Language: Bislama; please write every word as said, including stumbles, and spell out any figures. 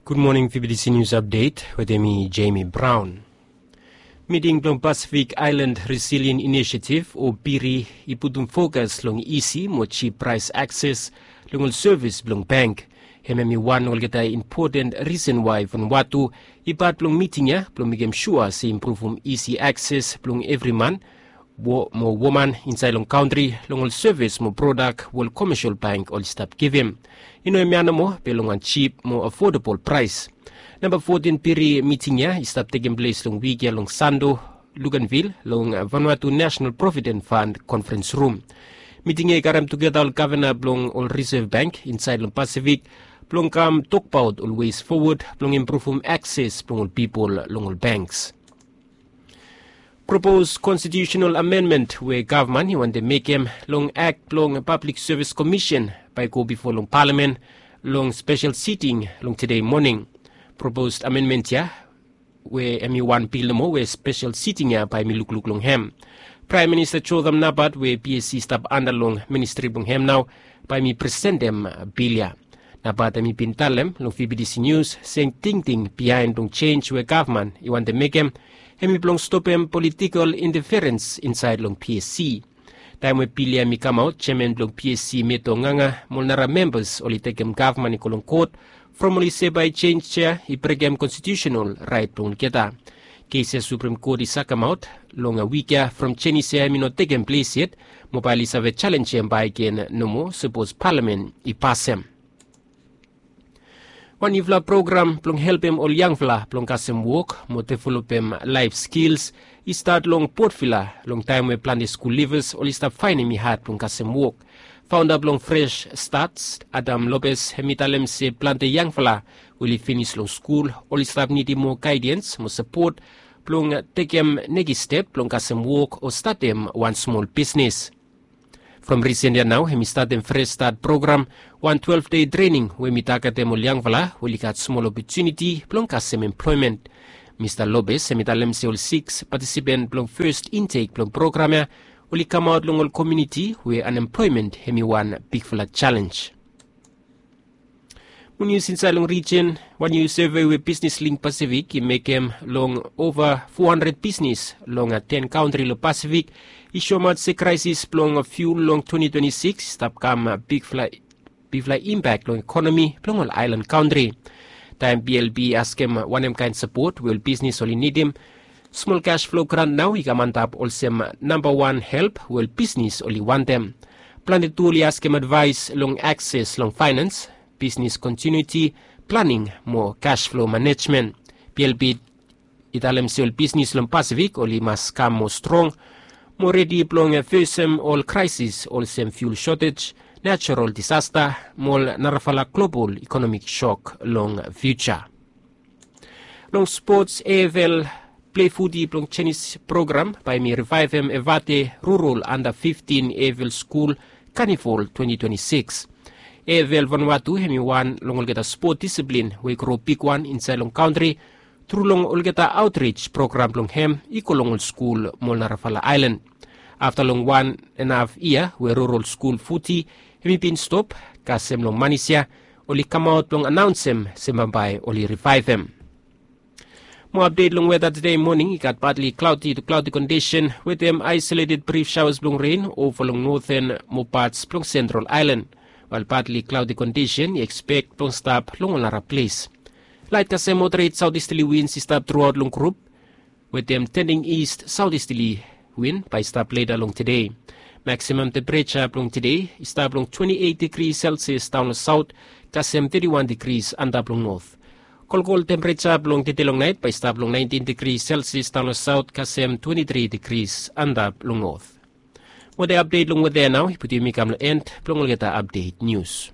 Gud moning, V B T C News Update wetem mi, Jamie Brown. Miting blong Pacific Island Resilient Initiative, o PIRI, i putum fokas long isi mo jip praes akses long ol sevis blong bank. Hemia i wan olgeta impoten risen wai Vanuatu i pat blong miting ya blong mekem sua se i impruvum isi akses blong evri man mo woman insaed long kantri long ol sevis mo prodak we ol komesel bank oli stap givim. I no hemia nomo, be long wan jip mo afodabol praes. Namba fotin PIRI miting ya i stap tekem ples long wik ya long Sando, Luganville, long Vanuatu National Provident Fund Conference Room. Miting ya i karem tugeta ol gavana blong ol Reserve Bank insaed long Pasifik blong kam tokbaot ol wes fowod blong impruvum akses blong ol pipol long ol banks. Propos konstitiusenal amendment we gavman i wantem mekem long Ak blong Pablik Sevis Komisen bae i go bifo long palamen long spesel siting long tede moning. Propos amendment ya we hem i wan bil nomo we spesel siting ya bae hem i lukluk long hem. Praem Minista Jotham Napat we PSC i stap anda long ministri blong hem nao bae hem i presentem bil ya. Napat hem i bin talem long V B T C News se tingting biaen blong jenj we gavman i wantem mekem hem i blong stopem politikol inteferens insaed long PSC. Taem we bil ya hem i kamaot, jeaman blong PSC Meto Nganga mo ol nara membas oli tekem gavman i go long kot from oli se bae jenj ya i brekem konstitiusenal raet blong olgeta. Kes ya Suprem Kot i sakemaot long wik ya from jenis ya hem i no tekem ples yet, mo bae oli save jalenjem bakegen nomo sapos palamen i pasem. Wan niufala program blong helpem ol yangfala blong kasem wok mo developem laef skils i stat long Port Vila long taem we plante skul livas oli stap faenem i had blong kasem wok. Faonda blong Fresh Starts, Adam Lopez, hem i talem se plante yangfala we oli finis long skul oli stap nidim moa gaedens mo sapot blong tekem nekis step blong kasem wok o statem wan smol bisnis. From risen ya nao hem i statem Fresh Start program, wan twelef dei trening we hem i tagetem ol yangfala we oli gat smol opotuniti blong kasem emploemen. Mista Lopez hem i talem se ol siks patisipen blong fes intek blong program ya oli kamaot long ol komuniti we anemploemen hem i wan bigfala jalenj. Mo nius insaed long rijin, wan niu seve we Bisnis Link Pasifik i mekem long ova fo handred bisnis long ten kantri long Pasifik i soemaot se kraesis blong fiul long twenti twenti sikis i stap kam bigfala, bigfala impak long ekonomi blong ol aelan kantri. Taem BLP i askem wanem kaen sapot we ol bisnis oli nidim, smol kas flo grant nao i kam antap olsem namba wan help we ol bisnis oli wantem. Plante tu oli askem advaes long akses long faenans, bisnis kontinuiti, planing mo kas flo manejmen. BLP i talem se ol bisnis long Pasifik oli mas kam moa strong mo redi blong fesem ol kraesis olsem fiul sotej, najerol disasta mo ol narafala global ekonomik sok long fiuja. Long spots, AFL plei futi blong jenis program bae hem i rivaevem Evate Rural Anda fiftin AFL Skul Kanivol twenti twenti sikis. AFL Vanuatu hem i wan long olgeta spot disiplin we i gro bigwan insaed long kantri tru long olgeta aotris program blong hem i go long ol skul mo ol narafala aelan. Afta long wan en haf yia we Rural Skul Futi hem i bin stop, kasem long manis ya oli kamaot blong anaonsem se bambae oli rivaevem. Mo apdet long weta tede moning, i gat patli klaodi tu klaodi kondisen wetem aesoleted brif saoas blong ren ova long noten mo pats blong sentral aelan, wael patli klaodi kondisen i ekspek blong stap long ol nara ples. Laet kasem moderet saotisterli wins i stap truaot long grup wetem tending ist saotisterli win bae i stap leta long tede. Maksimam tempereja blong tede i stap long twenti eit digri selsias daon long saot kasem teti wan digris antap long not. Kolkol tempereja blong tede long naet bae i stap long naentin digri selsias daon long saot kasem twenti tri digris antap long not. Weta apdet long weta ya nao i putum yumi kam long en blong olgeta apdet nius.